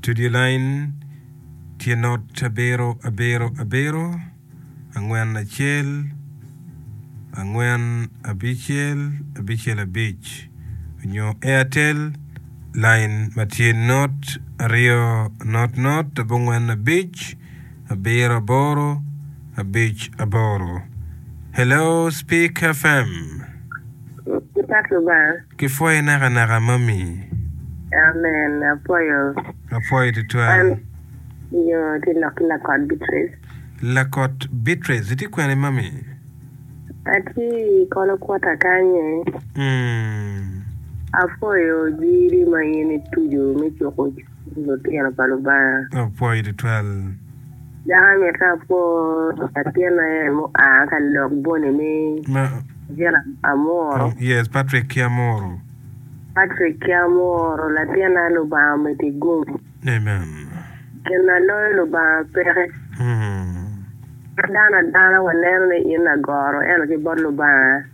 Studio line tye not abiro abiro abiro angwen acel angwen abicel abicel abic nyo Airtel line ma tye not aryo not not abongwen abic abiro aboro abic aboro. Hello Speak FM. Gipak Lubanga. Kipwoyi nakanaka mami. Amen apwoyo. Apwoyo tutwal. An yo tye lok ki Lakot Beatrice. Lakot Beatrice itye kwene mami? Atye i Kolo Kwota kany. Mm. Apwoyo jiri ma in ituco me cuko cwiny lutino pa Lubanga. Apwoyo tutwal. Dok amito apwo latinna en mua ka lok boni ni Ma gin Amuro. Yes, Patrick ki Amuro. Patrick ki Amuro, latinna Lubanga omeddi gum. Amen. Gin ma loyo Lubanga peke. Ma dano adana waneno ni in lagoro ento ki bot Lubanga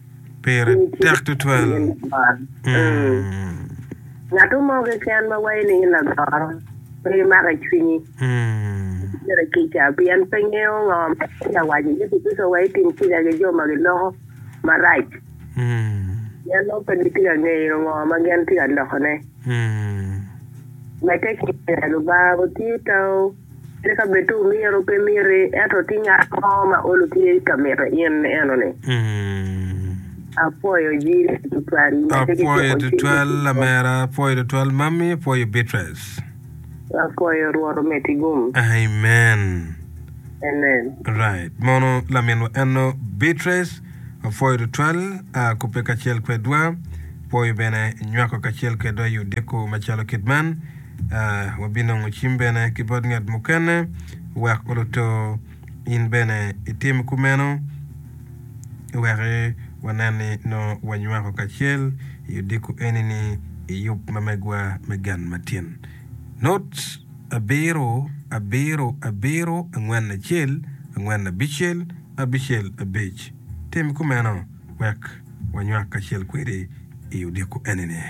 Pire in itye tek tutwal. in lagoro. Mm. Ngat mo keken ma waco ni in lagoro pe imako i cwinyi. Myero kica pien pe ngeyo ngo ma tye ka waco. Yecu Kricito owaco ni tim kica ki jo ma giloko marac pien nongo pe gitye ka ngeyo ngo ma gin tye ka lokone. Medde ki lega Lubanga otiyo tawu kadi ka bed tu myero pe miti ento tye ngat mo ma olo tye ka mito in enoni. Apwoyo jiri tutwal. Medde ki Apwoyo cuko cwiny tutwal lutino. lamera, apwoyo tutwal mami, apwoyo Beatrice. Apwoyo Rwot omeddi gum. Amen. Amen. Right. Mono laminwa eno Beatrice, apwoyo tutwal a kubbe kacel kwedwa. Pwoyo bene nywako kacel kwedwa i odiko macalo kit man. Uh, wabinongo cim bene ki bot ngat mukene wek oluto in bene itim kumeno wek wanen ni nongo wanywako kacel i odiko eni-ni i yub ma megwa me gen matin. Not abiro abiro abiro angwen acel angwen abicel abicel abic. Tim kumeno wek wanywak kacel kwedi i odiko eni-ni.